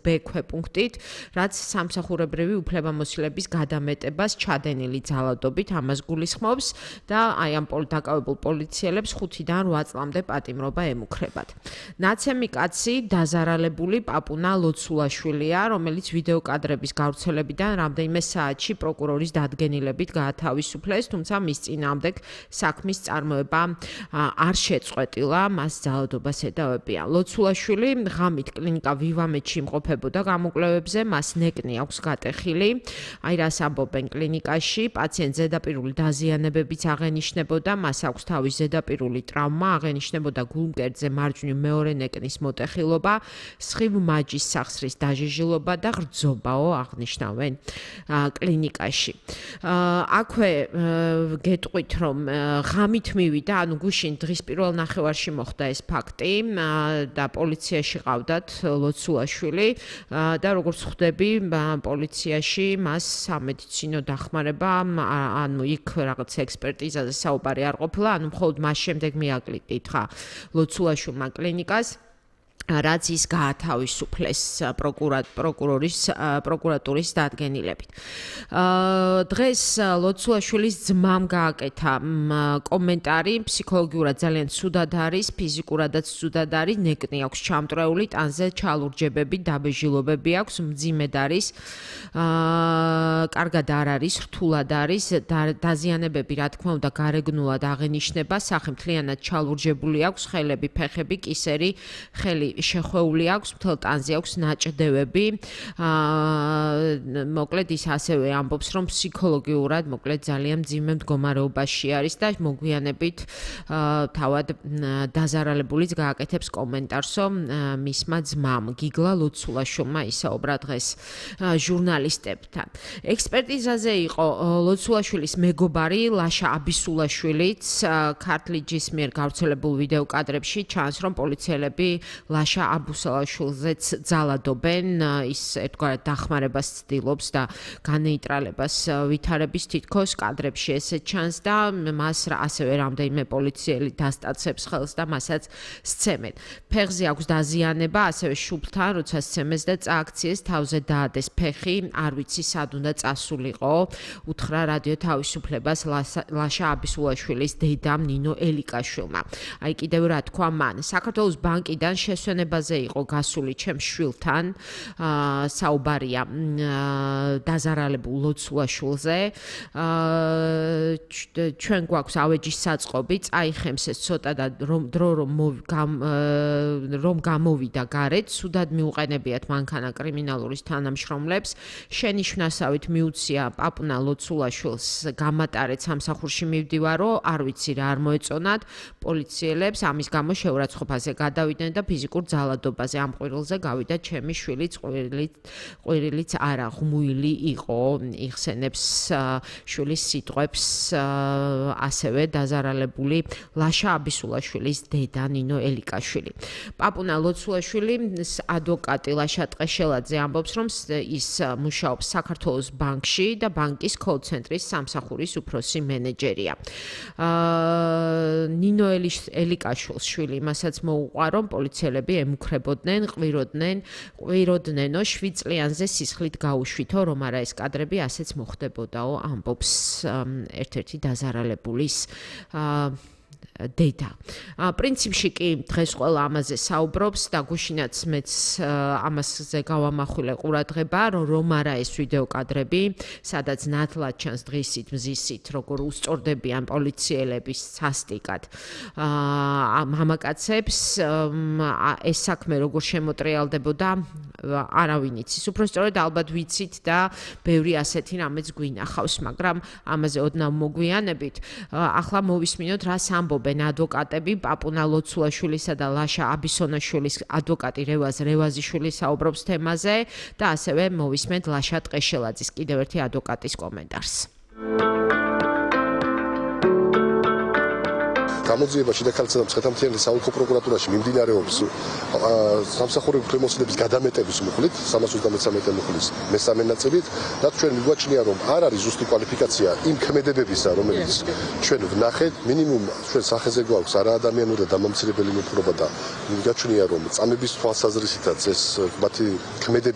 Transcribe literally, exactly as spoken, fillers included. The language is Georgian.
B ქვეპუნქტით, რაც სამსახურებრივი უფლებამოსილების გადამეტებას ჩადენილი ძალადობით ამას გულისხმობს და აი ამ დაკავებულ პოლიციელებს ხუთიდან რვა წლამდე პატიმრობა ემუქრებათ. ნაცემი კაცი დაზარალებული პაპუნა ლოცულაშვილია, რომელიც ვიდეო კადრების გავრცელებიდან რამდენიმე საათში პროკურორის დადგენილებით გაათავისუფლეს, თუმცა მის წინააღმდეგ საქმის წარმოება არ შეწყვეტილა, მას ძალადობას ედავებიან. ლოცულაშვილი ღამით კლინიკა ვივამეთში იმყოფებოდა გამოკვლევებზე, მას ნეკნი აქვს გატეხილი. აი რას ამბობენ კლინიკაში, პაციენტს ზედაპირული დაზიანებებიც აღენიშნებოდა, მას აქვს თავის ზედაპირული ტრავმა, აღენიშნებოდა გულმკერდზე მარჯვნივ მეორე ნეკნის მოტეხილობა, სხივ მაჯის სახსრის დაჟიჟილობა და რძობაო აღნიშნავენ კლინიკაში. აქვე გეტყვით, რომ ღამით მივიდა, ანუ გუშინ დღის პირველ ნახევარში მოხდა ეს ფაქტი და პოლიციაში ყავდათ ლოცულაშვილი და როგორც ხვდები, პოლიციაში მას სამედიცინო დახმარება, ანუ იქ რაღაც ექსპერტიზაზე საუბარი არ ყოფილა, ანუ მხოლოდ მას შემდეგ მიაკითხა ლოცულაშვილმა კლინიკას, რაც ის გაათავისუფლეს პროკურორის პროკურატურის დადგენილებით. დღეს ლოცულაშვილის ძმამ გააკეთა კომენტარი, ფსიქოლოგიურად ძალიან ცუდად არის, ფიზიკურადაც ცუდად არის, ნეკნი აქვს ჩამტვრეული, ტანზე ჩალურჯებები, დაბეჟილობები აქვს, მძიმედ არის, კარგად არ არის, რთულად არის, დაზიანებები რა თქმა უნდა გარეგნულად აღენიშნება, სახე მთლიანად ჩალურჯებული აქვს, ხელები, ფეხები, კისერი, ხელი შეხვეული აქვს, მთელ ტანზე აქვს ნაჭდევები. მოკლედ ის ასევე ამბობს, რომ ფსიქოლოგიურად მოკლედ ძალიან მძიმე მდგომარეობაში არის და მოგვიანებით თავად დაზარალებულიც გააკეთებს კომენტარსო მისმა ძმამ გიგლა ლოცულაშვილმა ისაუბრა დღეს ჟურნალისტებთან. ექსპერტიზაზე იყო ლოცულაშვილის მეგობარი ლაშა აბისულაშვილიც, ქართლიჯის მიერ გავრცელებულ ვიდეო კადრებში ჩანს, რომ პოლიციელები ლაშა აბუსალაშვილზეც ძალადობენ, ის ერთგვარად დახმარებას ცდილობს და განეიტრალებას ვითარების თითქოს კადრებში ესე ჩანს და მას ასევე რამდენიმე პოლიციელი დასტაცებს ხელს და მასაც სცემენ. ფეხზე აქვს დაზიანება, ასევე შუბლთან, როცა სცემეს და წააქციეს, თავზე დაადეს ფეხი, არ ვიცი სად უნდა წასულიყო, უთხრა რადიო თავისუფლებას ლაშა აბისულაშვილის დედამ ნინო ელიკაშვილმა. აი კიდევ რა თქვა მან, საქართველოს ბანკიდან შესვენებაზე იყო გასული ჩემს შვილთან, საუბარია დაზარალებულ ლოცულაშვილზე. ჩვენ გვაქვს ავეჯის საწყობი, წაიხემს ეს ცოტა და დრო რომ გამოვიდა გარეთ, სუდად მიუყენებიათ მანქანა კრიმინალურის თანამშრომლებს, შენიშვნასავით მიუცია პაპუნა ლოცულაშვილს გამატარეთ სამსახურში მივდივარო, არ ვიცი რა არ მოეწონათ პოლიციელებს, ამის გამო შეურაცხყოფაზე გადავიდნენ და ფიზიკურ ძალადობაზე ამ ყვირილზე გავიდა ჩემი შვილიც, ყვირილიც არა ღმუილი იყო, იხსენებს შვილის სიტყვებს ასევე დაზარალებული ლაშა აბისულაშვილის დედა ნინო ელიკაშვილი. პაპუნა ლოცულაშვილის ადვოკატი ლაშა ტყეშელაძე ამბობს, რომ ის მუშაობს საქართველოს ბანკში და ბანკის კოლ-ცენტრის სამსახურის უფროსი მენეჯერია. ნინო ელიკაშვილს შვილი იმასაც მოუყვა, რომ პოლიციელები ემუქრებოდნენ, ყვიროდნენ, ყვიროდნენო შვიდ წლიანზე სისხლით გაუშვითო, რომ არა ეს კადრები ასეც მოხდებოდაო, ამბობს ერთ-ერთი დაზარალებულის დედა. პრინციპში კი დღეს ყველა ამაზე საუბრობს და გუშინაც მეც ამაზე გავამახვილე ყურადღება, რომ რომ არა ეს ვიდეო კადრები, სადაც ნათლად ჩანს დღისით, მზისით, როგორ უსწორდებიან პოლიციელების სასტიკად მამაკაცებს, ეს საქმე როგორ შემოტრიალდებოდა, არავინ იცის. უпростоროდ ალბათ ვიცით და ბევრი ასეთი რამეც გვინახავს, მაგრამ ამაზე ოდნავ მოგვიანებით. ახლა მოვისმინოთ რას ამბობენ ადვოკატები, პაპუნა ლოცულაშვილისა და ლაშა აბისონაშვილის ადვოკატი რევაზ რევაზიშვილი საუბრობს თემაზე და ასევე მოვისმენთ ლაშა ტყეშელაძის კიდევ ერთი ადვოკატის კომენტარს. გამოძიებაში და ქალთა მცხეთამთიანეთის საოლქო პროკურატურაში მიმდინარეობს სამსახურების უფლებამოსილების გადამეტების მუხლით სამას ოცდამეცამეტე მუხლის მესამე ნაწილით, რაც ჩვენ მიგვაჩნია, რომ არ არის ზუსტი კვალიფიკაცია იმ ქმედებებისა, რომელიც ჩვენ ვნახეთ, მინიმუმ ჩვენ სახეზე გვაქვს არაადამიანური და დამამცირებელი მოპყრობა და მიგვაჩნია, რომ წამების თვალსაზრისითაც ეს მათი ქმედებები